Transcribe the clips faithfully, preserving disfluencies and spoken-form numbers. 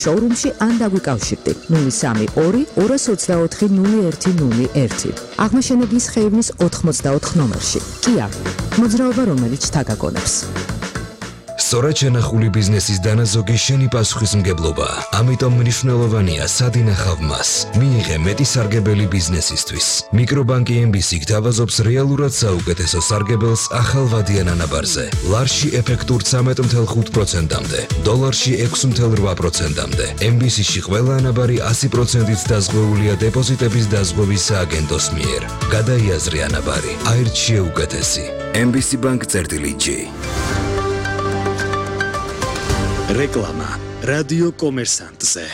შოურუმში ან დაგვიკავშირდი ნული სამი ორი ორას ოცდაოთხი ნული ერთი ნული ერთი. აღმაშენებლის ხეივნის ოთხმოცდაოთხ ნომერში. Kia, მოძრაობა რომელიც თაგაგონებს. სწორად შენახული ბიზნესის დანაზოგი შენი პასუხისმგებლობა. ამიტომ მნიშვნელოვანია სად ინახავ მას. მიიღე მეტი სარგებელი ბიზნესისთვის. მიკრობანკი ემ ბი სი გთავაზობს რეალურად საუკეთესო სარგებელს ახალ ვადიან ანაბარზე. ლარში ეფექტურ ცამეტ ათი ოცდახუთი პროცენტამდე, დოლარში ექვსი ოცდაორ პროცენტამდე. ემ ბი სი-ში ყველა ანაბარი ასი პროცენტით დაზღვეულია დეპოზიტების დაზღვევის სააგენტოს მიერ. გადაიაზრე ანაბარი, აირჩიე უკეთესი. ემ ბი სი Bank წერტილი ჯი. რეკლამა რადიო კომერსანტზე.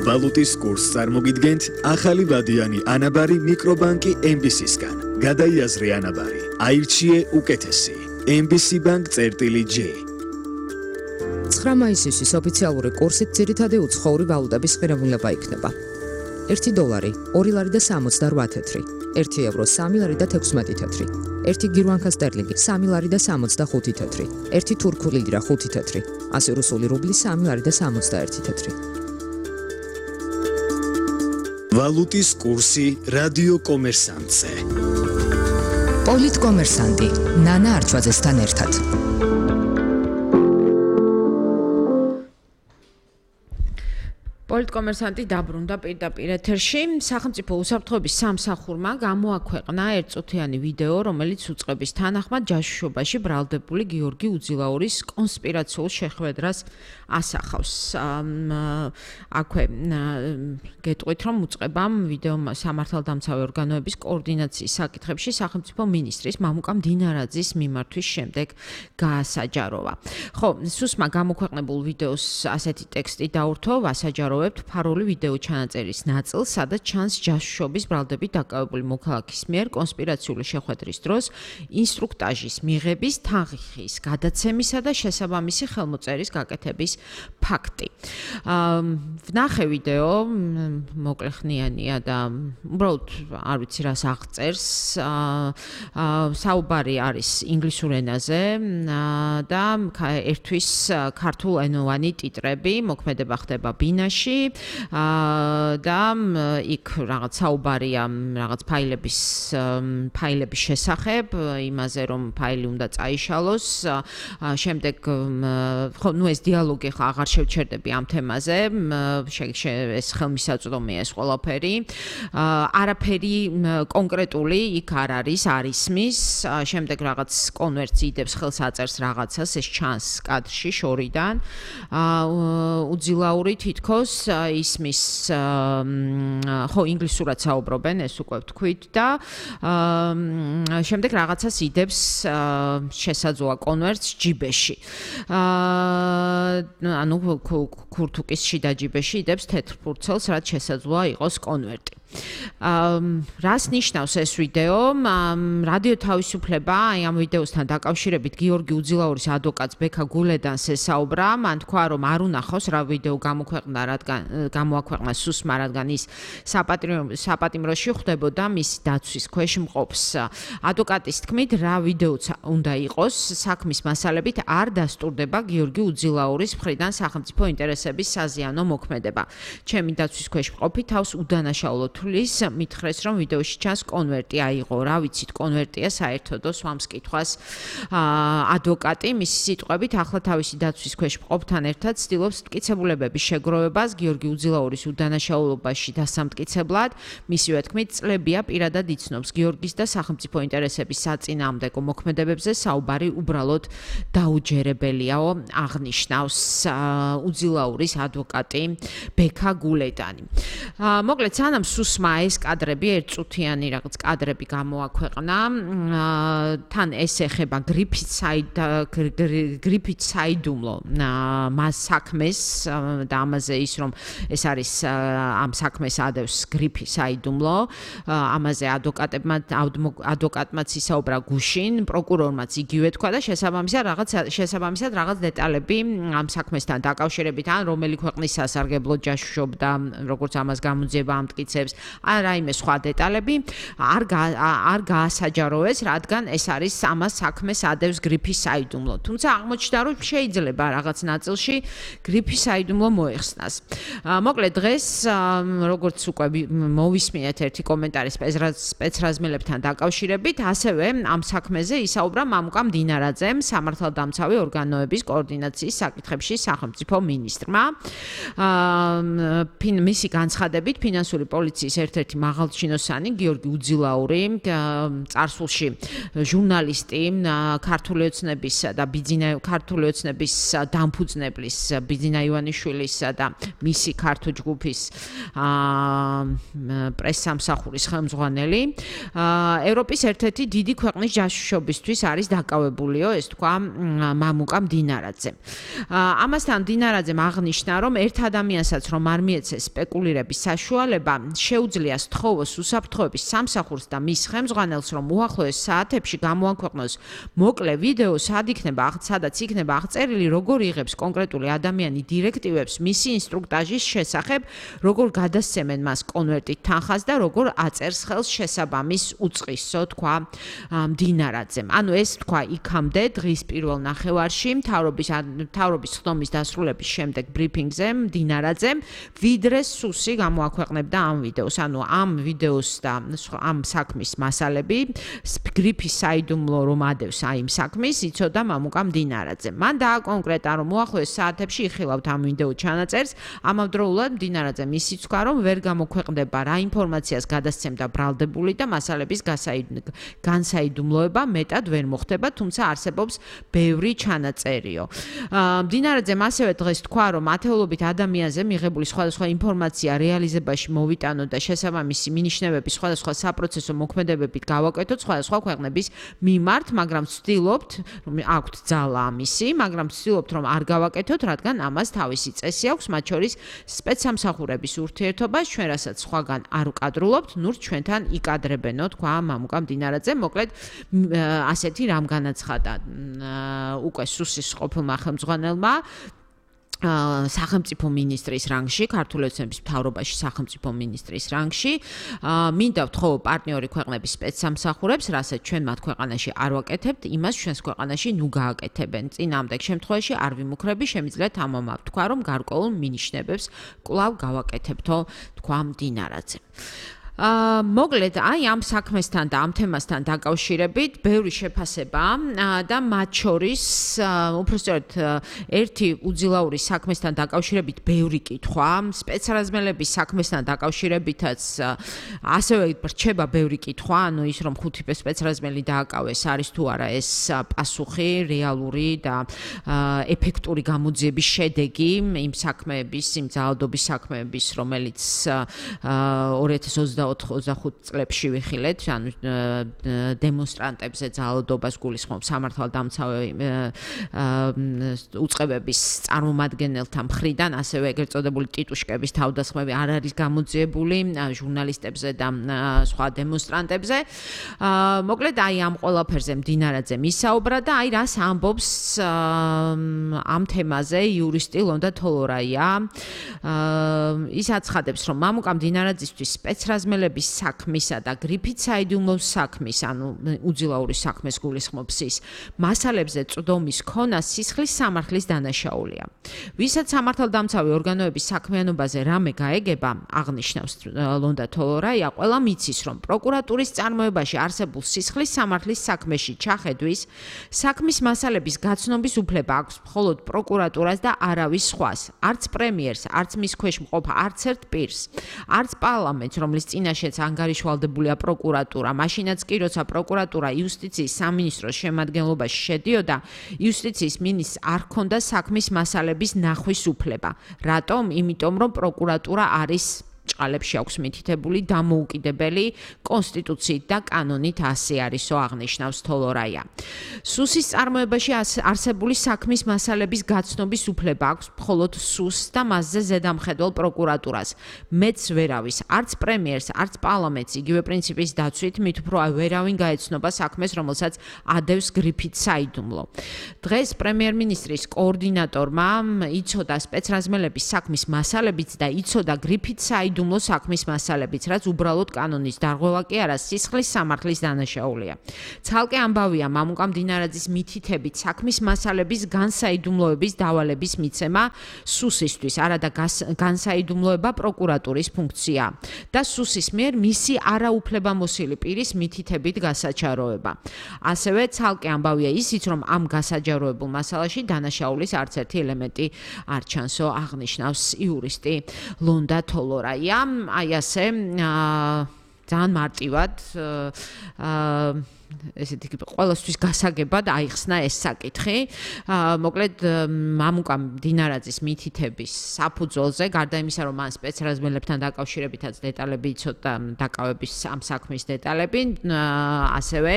ვალუტის კურსს წარმოგიდგენთ ახალი ვადიანი ანაბარი მიკრობანკი ემ ბი სი-სგან. გადაიაზრე ანაბარი, აირჩიე უკეთესი. ემ ბი სი Bank წერტილი ჯი. ცხრა მაისის ოფიციალური კურსით ძირითადი უცხოური ვალუტების ღირებულება იქნება. ერთი დოლარი, ორი ლარი და სამოცდაოთხ თეთრი, ერთი ევრო, სამი ლარი და თექვსმეტი თეთრი, ერთი გირვანკა სტერლინგი, სამი ლარი და სამოცდახუთი თეთრი, ერთი თურქული ლირა, ხუთი თეთრი, ასი რუსული რუბლი, სამი ლარი და სამოცდაერთი თეთრი. ვალუტის კურსი რადიო კომერსანტზე. პოლიტკომერსანტი, ნანა არჩვაძესთან ერთად. პოლიტკომერსანტი დაბრუნდა პირდაპირ ეთერში. სახელმწიფო უსაფრთხოების სამსახურმა გამოაქვეყნა ერთწუთიანი ვიდეო, რომელიც უწყების თანახმად ჯაშუშობაში ბრალდებული გიორგი უძილაურის კონსპირაციულ შეხვედრას ასახავს. აქვე გეტყვით, რომ უწყებამ ვიდეო სამართალდამცავი ორგანოების კოორდინაციის საკითხებში სახელმწიფო მინისტრის მამუკა მდინარაძის მიმართვის შემდეგ გაასაჯაროვა. ხო, სუსმა გამოქვეყნებულ ვიდეოს ასეთი ტექსტი დაურთო, ვასაჯარო ფარული ვიდეო ჩანაწერის ნაწილს, სადაც ჩანს ჯაშუშობის ბრალდებით დაკავებული მოქალაქის მიერ კონსპირაციული შეხვედრის დროს ინსტრუქტაჟის მიღების, თანხის გადაცემისა და შესაბამისი ხელმოწერის გაკეთების ფაქტი. ვნახე ვიდეო, მოკლეხნიანია და უბრალოდ არ ვიცი რას აღწერს. საუბარი არის ინგლისურ ენაზე და ერთვის ქართულენოვანი ტიტრები, მოქმედება ხდება ბინაში. და იქ რაღაც საუბარია რაღაც ფაილების ფაილების შესახებ, იმაზე რომ ფაილი უნდა წაიშალოს. შემდეგ ხო, ნუ ეს დიალოგი ხა აღარ შევჩერდები ამ თემაზე, ეს ხელმისაწვდომია ეს ყველაფერი. არაფერი კონკრეტული იქ არ არის, არ ისმის. შემდეგ რაღაც კონვერტს იდებს, ხელს აწერს რაღაცას, ეს ჩანს კადრში შორიდან. უძილაური თითქოს ისმის ხო ინგლისურად საუბრობენ, ეს უკვე ვთქვით და შემდეგ რაღაცას იდებს შესაძლოა კონვერტს ჯიბეში. ანუ ქურთუკის შიდა ჯიბეში იდებს თეთრ ფურცელს, რაც შესაძლოა იყოს კონვერტი. რას ნიშნავს ეს ვიდეო? რადიო თავისუფლება აი ამ ვიდეოსთან დაკავშირებით გიორგი უძილაურის ადვოკატს ბექა გულედანს ესაუბრა, მან თქვა რომ არ უნახავს რა ვიდეო გამოქვეყნა, რადგან გამოაქვეყნა სუსმა, რადგან ის საპატიმროში ხვდებოდა მისი დაცვის ქვეშ მყოფს. ადვოკატის თქმით, რა ვიდეოც უნდა იყოს, საქმის მასალებით არ დასტურდება გიორგი უძილაურის მხრიდან სახელმწიფო ინტერესების საზიანო მოქმედება. ჩემი დაცვის ქვეშ მყოფი თავს უდანაშაულოდ მითხრეს, რომ ვიდეოში ჩანს კონვერტი აიღო, რა ვიცით, კონვერტია საერთოდო სვამს კითხვას ადვოკატი, მისი სიტყვებით, ახლა თავისი დაცვის ქვეშ მყოფთან ერთად ცდილობს მტკიცებულებების შეგროვებას გიორგი უძილაურის უდანაშაულობაში დასამტკიცებლად. მისივე თქმით, წლებია პირადად იცნობს გიორგის და სახელმწიფო ინტერესების საწინააღმდეგო მოქმედებებზე, საუბარი უბრალოდ დაუჯერებელიაო, აღნიშნავს უძილაურის ადვოკატი ბექა გულედანი. მოკლედ, სანამ სუსმა ეს კადრები, ერთწუთიანი რაღაც კადრები გამოაქვეყნა, თან ეს ეხება გრიფით გრიფით საიდუმლო მას საქმეს და ამაზე ის რომ ეს არის ამ საქმეს ადევს გრიფი საიდუმლო, ამაზე ადვოკატებმა ადვოკატმაც ისაუბრა გუშინ, პროკურორმაც იგივე თქვა და შესაბამისად რაღაც შესაბამისად რაღაც დეტალები ამ საქმესთან დაკავშირებით, ან რომელი ქვეყნის სასარგებლოდ ჯაშუშობდა, როგორც ამას გამოძიება ამტკიცებს, ან რაიმე სხვა დეტალები არ არ გაასაჯაროეს, რადგან ეს არის ამას საქმეს ადევს გრიფის საიდუმლო. თუმცა აღმოჩნდა, რომ შეიძლება რაღაც ნაწილში გრიფის საიდუმლო მოეხსნას. მოკლედ დღეს როგორც უკვე მოვისმინეთ ერთი კომენტარი სპეცრაზმელებთან დაკავშირებით, ასევე ამ საქმეზე ისაუბრა მამუკა მდინარაძემ, სამართალდამცავი ორგანოების კოორდინაციის საკითხებში სახელმწიფო მინისტრმა. მისი განცხადებით, ფინანსური პოლიციის ერთ-ერთი მაღალჩინოსანი გიორგი უძილაური, წარსულში ჟურნალისტი, ქართული ოცნებისა და ბიძინა ქართული ოცნების დამფუძნებლის ბიძინა ივანიშვილისა და მისი ქართული ჯგუფის პრესსამსახურის ხელმძღვანელი, ევროპის ერთ-ერთი დიდი ქვეყნის ჯაშუშობისთვის არის დაკავებულიო, ეს თქვა მამუკა მდინარაძე. ამასთან მდინარაძემ აღნიშნა, რომ ერთ ადამიანსაც რომ არ მიეცეს სპეკულირების საშუალება, შეუძლია სთხოვოს უსაფრთხოების სამსახურს და მის ხელმძღვანელს, რომ უახლოეს საათებში გამოაქვეყნოს მოკლე ვიდეო, სად იქნება, სადაც იქნება აღწერილი, როგორ იღებს კონკრეტული ადამიანი დირექტივებს მისი ინსტრუქტაჟის შესახებ, როგორ გადასცემენ მას კონვერტით თანხას და როგორ აწერს ხელს შესაბამის უწყისო, თქვა მდინარაძემ. ანუ ეს თქვა იქამდე დღის პირველ ნახევარში მთავრობის მთავრობის ხდომის დასრულების შემდეგ ბრიფინგზე მდინარაძემ, ვიდრე სუსი გამოაქვეყნებდა ამ ვიდეოს. ანუ ამ ვიდეოს და ამ საქმის მასალები, გრიფის საიდუმლო რომ ადევს აი იმ საქმის, იცოდა მამუკა მდინარაძემ. მან დააკონკრეტა, რომ უახლოეს საათებში იხილავთ ამ ვიდეო ჩანაწერს, ამავდროულად მდინარაძემ ისიც თქვა, რომ ვერ გამოქვეყნდება რა ინფორმაციას გადასცემდა ბრალდებული და მასალების განსაიდუმლოება მეტად ვერ მოხდება, თუმცა არსებობს ბევრი ჩანაწერიო. მდინარაძემ ასევე დღეს თქვა, რომ ათეულობით ადამიანზე მიღებული სხვადასხვა ინფორმაცია რეალიზებაში მოვიტანო და შესაბამისი მინიშნებები სხვადასხვა საპროცესო მოქმედებებით გავაკეთოთ სხვადასხვა ქვეყნების მიმართ, მაგრამ ვცდილობთ, რომ აქვთ ძალა ამისი, მაგრამ ვცდილობთ, რომ არ გავაკეთოთ, რადგან ამას თავისი წესი აქვს, მათ შორის სპეცსამსახურების ურთიერთობა, ჩვენ რასაც სხვაგან არ ვკადრულობთ, ნურთ ჩვენთან იკადრებენო, თქვა მამუკა მდინარაძემ. მოკლედ ასეთი რამ განაცხადა უკვე სუსის ყოფილმა ხელმძღვანელმა სახელმწიფო მინისტრის რანგში, ქართული ოცნების მთავრობაში სახელმწიფო მინისტრის რანგში, მინდა ვთხოვო პარტნიორი ქვეყნების სპეცსამსახურებს, რასაც ჩვენ მათ ქვეყანაში არ ვაკეთებთ, იმას ჩვენს ქვეყანაში ნუ გააკეთებენ. წინამდეგ შემთხვევაში არ ვიმუქრები, შემიძლიათ ამამა ვთქვა, რომ გარკვეულ მინიშნებებს კვლავ გავაკეთებთო, თქვა მდინარაძე. მოკლედ აი ამ საქმესთან და ამ თემასთან დაკავშირებით ბევრი შეფასება და მათ შორის უბრალოდ ერთი უძილაურის საქმესთან დაკავშირებით ბევრი კითხვა, სპეცრაზმელების საქმესთან დაკავშირებითაც ასევე რჩება ბევრი კითხვა, ანუ ის რომ ხუთი სპეცრაზმელი დააკავეს, არის თუ არა ეს პასუხი, რეალური და ეფექტური გამოძიების შედეგი იმ საქმეების, იმ ძალადობის საქმეების, რომელიც ორი ათას ოცდახუთ წლებში ვიხილეთ, ანუ დემონსტრანტებზე ძალადობას გულისხმობს სამართალდამცავი უწყებების წარმომადგენელთა მხრიდან, ასევე ეგრეთ წოდებული ტიტუშკების თავდასხმები არ არის გამოძიებული ჟურნალისტებზე და სხვა დემონსტრანტებზე. მოკლედ აი ამ ყველაფერზე მდინარაძემ ისაუბრა და აი რას ამბობს ამ თემაზე იურისტი ლონდა თოლორაია. ის აცხადებს, რომ მამუკა მდინარაძისთვის სპეცრაზმელების საქმისა და გრიფით საიდუმლოს საქმის, ანუ უძილაურის საქმეს გულისხმობს ის, მასალებზე წვდომის ქონა სისხლის სამართლის დანაშაულია. ვისაც სამართალდამცავი ორგანოების საქმიანობაზე რამე გაეგება, აღნიშნავს ლონდა თოლორაია, ყველა მიცის, რომ პროკურატურის წარმოებაში არსებულ სისხლის სამართლის საქმეში ჩახედვის, საქმის მასალების გაცნობის უფლება აქვს მხოლოდ პროკურატურას და არავის სხვას, არც პრემიერს, არც მის ქვეშ მყოფ არც ერთ პირს, არც პარლამენტს, რომლის წინაშეც ანგარიშვალდებულია პროკურატურა, მაშინაც კი როცა პროკურატურა იუსტიციის სამინისტროს შემადგენლობაში შედიოდა, იუსტიციის მინისტრს არ ჰქონდა საქმის მასალების ნახვის უფლება. რატომ? იმიტომ რომ პროკურატურა არის ჭყალებში აქვს მითითებული დამოუკიდებელი კონსტიტუციით და კანონით ასე არისო, აღნიშნავს თოლორაია. სუსის წარმოებაში არსებული საქმის მასალების გაცნობის უფლება აქვს მხოლოდ სუსს და მასზე ზედამხედველ პროკურატურას. მეც ვერავის, არც პრემიერს, არც პარლამენტს იგივე პრინციპის დაცვით, მით უფრო ვერავინ გაეცნობა საქმეს, რომელსაც ადევს გრიფით საიდუმლო. დღეს პრემიერ-მინისტრის კოორდინატორმა იცოდა სპეცრაზმელების საქმის მასალებიც და იცოდა გრიფით საიდუმლო საიდუმლო საქმის მასალებიც, რაც უბრალოდ კანონის დარღვევა კი არა, სისხლის სამართლის დანაშაულია. ცალკე ამბავია მამუკა მდინარაძის მითითებით საქმის მასალების განსაიდუმლოების დავალების მიცემა სუსისთვის, არადა განსაიდუმლოება პროკურატურის ფუნქცია და სუსის მიერ მისი არაუფლებამოსილი პირის მითითებით გასაჩაროება. ასევე ცალკე ამბავია ისიც, რომ ამ გასაჯაროებულ მასალაში დანაშაულის არც ერთი ელემენტი არ ჩანსო, აღნიშნავს იურისტი ლონდა თოლორაია. აი ასე ძალიან მარტივად ესეთი ყველასთვის გასაგებად აიხსნა ეს საკითხი. მოკლედ მამუკა მდინარაძის მითითების საფუძველზე, გარდა იმისა, რომ მან სპეცრაზმელებთან დაკავშირებითაც დეტალები იცოდა დაკავების ამ საქმის დეტალები, ასევე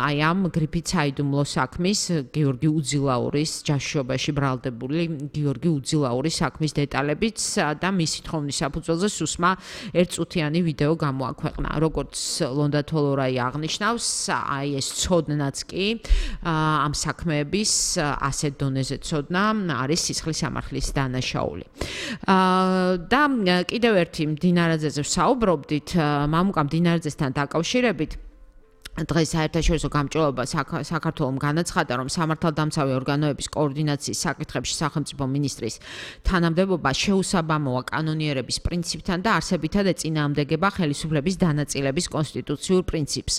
აი ამ გრიფით საიდუმლო საქმის გიორგი უძილაურის ჯაშუობაში ბრალდებული გიორგი უძილაურის საქმის დეტალებიც და მისი თხოვნის საფუძველზე სუსმა ერთწუთიანი ვიდეო გამოაქვეყნა. როგორც ლონდა თოლორაია აღნიშნავს, აი ეს ცოდნაც კი ამ საქმეების ასეთ დონეზე ცოდნა არის სისხლის სამართლის დანაშაული. და კიდევ ერთი მდინარაძეზე ვსაუბრობდით, მამუკა მდინარაძესთან დაკავშირებით დღეს საერთაშორისო გამჭვირვალობა საქართველომ განაცხადა, რომ სამართალდამცავი ორგანოების კოორდინაციის საკითხებში სახელმწიფო მინისტრის თანამდებობა შეუსაბამოა კანონიერების პრინციპთან და არსებითად ეწინააღმდეგება ხელისუფლების დანაწილების კონსტიტუციურ პრინციპს.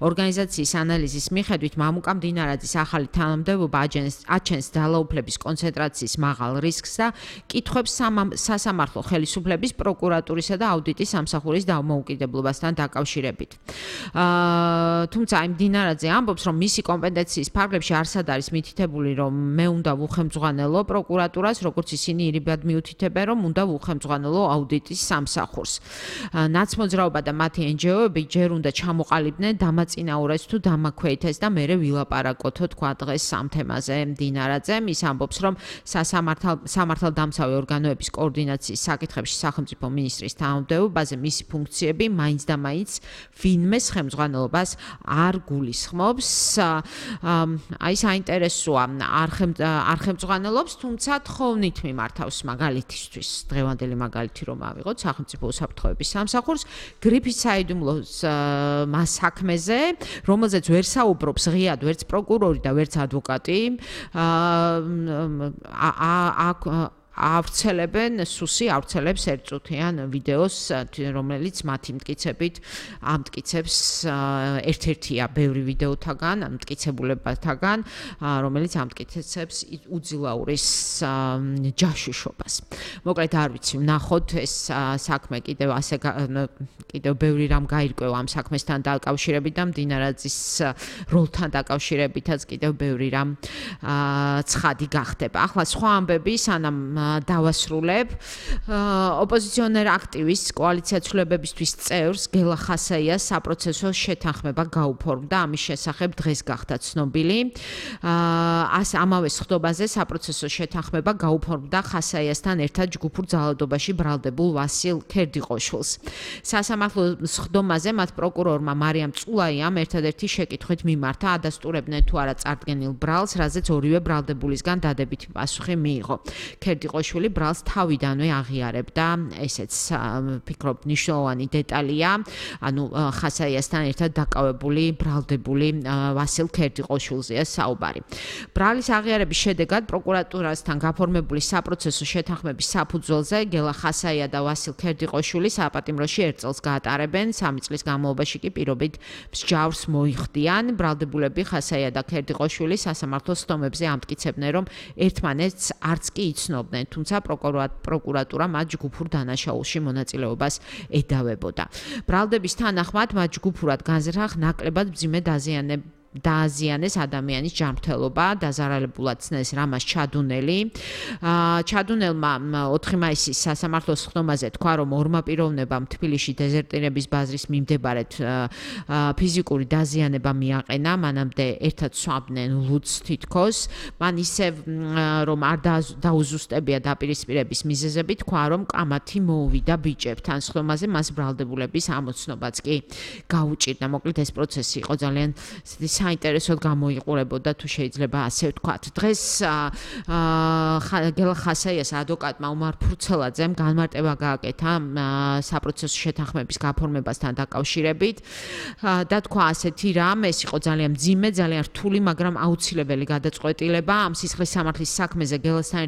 ორგანიზაციის ანალიზის მიხედვით მამუკა მდინარაძის ახალი თანამდებობა აჩენს ძალაუფლების კონცენტრაციის მაღალ რისკს და კითხვებს სასამართლო ხელისუფლების, პროკურატურისა და აუდიტის სამსახურის დამოუკიდებლობასთან დაკავშირებით. თუმცა იმ მდინარაძე ამბობს, რომ მისი კომპეტენციის ფარგლებში არსად არის მითითებული, რომ მე უნდა ვუხემძღვანელო პროკურატურას, როგორც ისინი ირიბად მიუთითებენ, რომ უნდა ვუხემძღვანელო აუდიტის სამსახურს. ნაცმოძრაობა და მათი ენჯეოები ჯერ უნდა ჩამოყალიბდნენ, დამაწინაურეს თუ დამაქვეითეს და მერე ვილაპარაკოთო, თქვა დღეს ამ თემაზე მდინარაძემ. ის ამბობს, რომ სამართალდამცავი ორგანოების კოორდინაციის საკითხებში სახელმწიფო მინისტრის თანამდებობაზე მისი ფუნქციები მაინც და მაინც ვინმეს ხელმძღვანელობას არ გულისხმობს. აი საინტერესოა, არ ხელმძღვანელობს, თუმცა თხოვნით მიმართავს მაგალითისთვის, დღევანდელი მაგალითი რომ ავიღოთ სახელმწიფო უსაფრთხოების სამსახურს, გრიფით საიდუმლოს საქმეზე, რომელზეც ვერ საუბრობს ღიად ვერც პროკურორი და ვერც ადვოკატი. ავრცელებენ სუსი ავრცელებს ერთწუთიან ვიდეოს, რომელიც მათი მტკიცებით ამ მტკიცებს ერთ-ერთია ბევრი ვიდეოთაგან, ამ მტკიცებულებათაგან, რომელიც ამ მტკიცებს უძილაურის ჯაშუშობას. მოკლედ არ ვიცი, ვნახოთ ეს საქმე კიდევ ასე კიდევ ბევრი რამ გაირკვევა ამ საქმესთან დაკავშირებით და მდინარაძის როლთან დაკავშირებითაც კიდევ ბევრი რამ ცხადი გახდება. ახლა სხვა ამბები, სანამ დავასრულებ. ოპოზიციონერ აქტივისტს კოალიცია ცვლილებებისთვის წევრს გელა ხასაიას საპროცესო შეთანხმება გაუფორმდა, ამის შესახებ დღეს გახდა ცნობილი. ას ამავე სხდომაზე საპროცესო შეთანხმება გაუფორმდა ხასაიასთან ერთად ჯგუფურ ძალადობაში ბრალდებულ ვასილ ქერდიყოშვილს. სასამართლო სხდომაზე მათ პროკურორმა მარიამ წულაიამ ერთადერთი შეკითხვით მიმართა, ადასტურებდნენ თუ არა წარდგენილ ბრალს, რაზეც ორივე ბრალდებულისგან დადებითი პასუხი მიიღო. ქერდიყოშვილი ბრალს თავიდანვე აღიარებდა, ესეც ფიქრობ მნიშვნელოვანი დეტალია, ანუ ხასაიასთან ერთად დაკავებული ბრალდებული ვასილ ქერდიყოშვილზეა საუბარი. ბრალის აღიარების შედეგად პროკურატურასთან გაფორმებული საპროცესო შეთანხმების საფუძველზე გელა ხასაია და ვასილ ქერდიყოშვილი საპატიმროში ერთ წელს გაატარებენ, სამი წლის განმავლობაში კი პირობით მსჯავრს მოიხდიან. ბრალდებულები ხასაია და ქერდიყოშვილი სასამართლო სხდომებზე ამტკიცებდნენ, რომ ერთმანეთს არც კი იცნობდნენ, თუმცა პროკურატურა მათ ჯგუფურ დანაშაულში მონაწილეობას ედავებოდა. ბრალდების თანახმად მათ ჯგუფურად განზრახ ნაკლებად მძიმე დაზიანება დააზიანეს ადამიანის ჯანმრთელობა, დაზარალებულად ცნეს რამას ჩადუნელი. ჩადუნელმა ოთხი მაისის სასამართლო სხდომაზე თქვა, რომ ორმა პიროვნებამ თბილისში დეზერტირების ბაზრის მიმდებარედ ფიზიკური დაზიანება მიაყენა, მანამდე ერთად სვამდნენ ლუდს თითქოს. მან ისევ რომ არ დაუზუსტებია დაპირისპირების მიზეზები, თქვა, რომ კამათი მოუვიდა ბიჭებთან. სხდომაზე მას ბრალდებულების ამოცნობაც კი გაუჭირდა. მოკლედ ეს პროცესი იყო ძალიან საინტერესოდ გამოიყურებოდა თუ შეიძლება ასე ვთქვათ. დღეს გელა ხასაიას ადვოკატმა უმარ ფურცელაძემ განმარტება გააკეთა საპროცესო შეთანხმების გაფორმებასთან დაკავშირებით და თქვა ასეთი რამ, ეს იყო ძალიან მძიმე, ძალიან რთული, მაგრამ აუცილებელი გადაწყვეტილება ამ სისხლის სამართლის საქმეზე გელასთან